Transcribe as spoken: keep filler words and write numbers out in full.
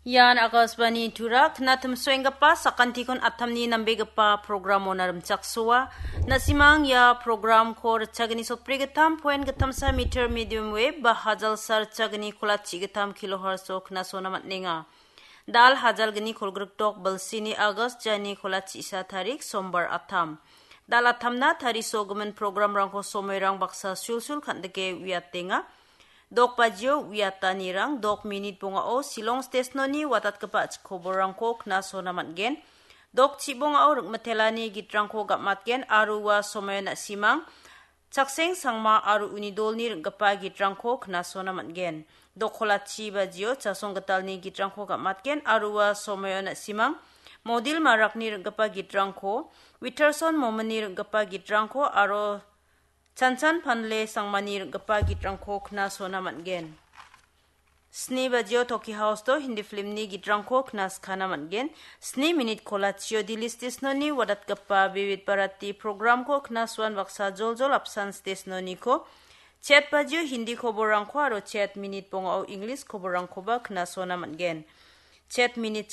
Ian Akashvani Tura, knatimsoenggipa sakantikon atamni nambegipa programona rimchaksoa. Na·simang ia programko ritchagni sotbrigittam point gittamsa meter medium wave ba hajalsa ritchagni kolatchi gittam kilohertz-o knasona man·enga. Dal hajalgni kolgrikdok bilsini August jani kolatchisa tarik sombar atam. Dal atamna tarisogimin programrangko somoirang baksa sulsul kan·dike uiatenga. Dok bajio uiatanirang dok minit bongao Shillong stesnoni watatgipa chikoborrangko knasona man·gen. Dok chibongao ringmitelani gitrangko gam·atgen aro ua somoio na·simang Chakseng Sangma aro uni dolni ring·gipa gitrangko knasona man·gen. Dok kolatchi bajio Chasong Gitalni gitrangko gam·atgen aro ua somoio na·simang Modil Marakni ring·gipa gitrangko, Witterson Mominni ring·gipa gitrangko aro Chanchan Panle Sangmani ring·gipa gitrangko knasona man·gen. Sni bajio Toki House-o Hindi filmni gitrangko knaskana man·gen. Sni minit kolatchio Delhi stesnoni watatgipa Vividh Bharati programko knasoan baksa joljol apsan stesnoniko. Chet bajio Hindi koborrangko aro chet minit bongao English koborrangkoba knasona man·gen. Chet minit